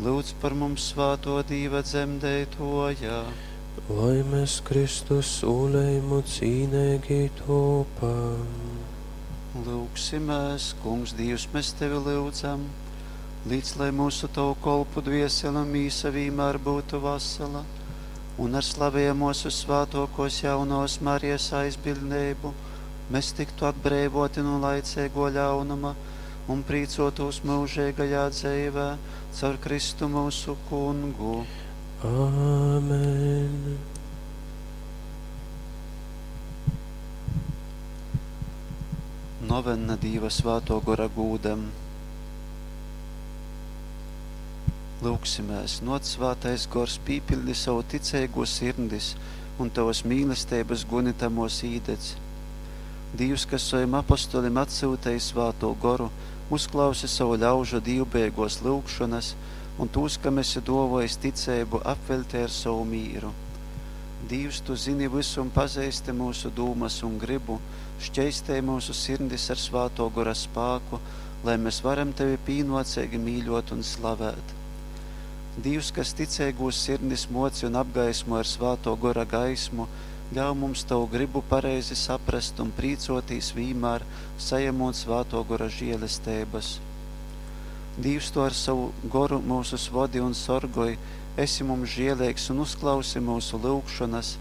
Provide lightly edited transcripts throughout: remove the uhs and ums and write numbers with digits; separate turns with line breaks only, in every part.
Lūdz par mums svātō Dīva dzemdeitōja.
Lai mēs Kristus sūlējumu cīneigi topam.
Lūgsimēs, Kungs Dīvs, mēs Tevi lyudzam, līdz lai mūsu Tavu kolpu dviesele un mīsa vīmēr būtu vasala, un ar slavējamos svātokos jaunos Marijas aizbildnību mēs tiktu atbreivoti no laicīgo ļaunuma un prīcotos mūžīgajā dzīvē caur Kristu mūsu kungu.
Āmen.
Novenna Dīva svāto gora gūdam. Lūgsimēs, noc svātais gors, pīpildi savu ticīgo sirdis un tavas mīlestības guni tamos īdedz. Dīvs, kas saviem apostolim atsūtīja svāto goru, uzklausi savu ļaužu dīvbēgos lūgšanas un tūs, kam esi dovojis ticību, apveļtē ar savu mīru. Dīvs, tu zini visu un pazīsti mūsu dūmas un gribu, šķeistē mūsu sirdis ar svāto gora spāku, lai mēs varam tevi pīnocīgi mīļot un slavēt. Dīvs, kas ticīgos sirdis moci un apgaismo ar svāto gora gaismu, ļauj mums tavu gribu pareizi saprast un prīcotīs vīmēr, sajemot svāto gora žēlestības. Dīvs, tu ar savu goru mūsu vodi un sorgoj, esi mums žēlīgs un uzklausi mūsu lūgšanas,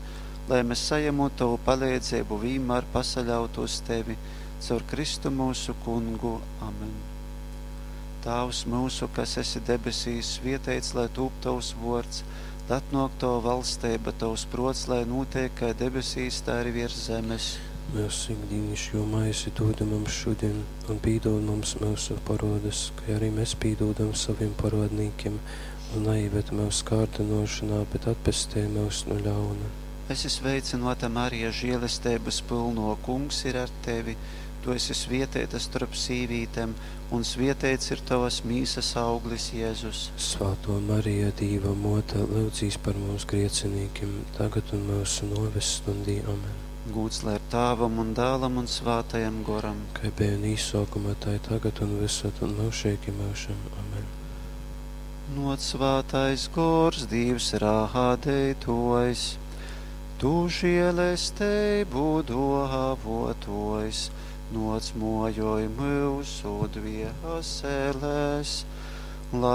lai mēs sajemot tavu palīdzību vienmēr pasaļautos tevi, caur Kristu mūsu kungu. Amen. Tēvs mūsu, kas esi debesīs, svietēts, lai tūp tavs vārds, lai atnāk tava valstība, tavs prots, lai notiek kā debesīs, tā arī virs zemes.
Mūsu ikdienišķo maizi dod mums šodien, un pīdod mums mūsu parodas, kā arī mēs pīdodam saviem parodnīkiem, un neieved mūsu kārdinošanā, bet atpestī mūs no ļauna.
Esi sveicināta, Marija, žēlestības pilno, kungs ir ar tevi. Tu esi svietēta starp sīvītēm, un svietēts ir tavas mīsas auglis, Jēzus.
Svāto Marija, Dīva mote, lūdzīs par mums griecinīkiem, tagad un mūsu noves stundī. Amen.
Gūds lai ir Tāvam un Dēlam un Svātajam Goram.
Kā bija un īsākumā, tā ir tagad un visur un mūžīgi mūžam. Amen.
Noc svātais gors, Dievs rādītojs, tu žēlestību dāvotojs, noc mojoj mūsu dvieseles, lai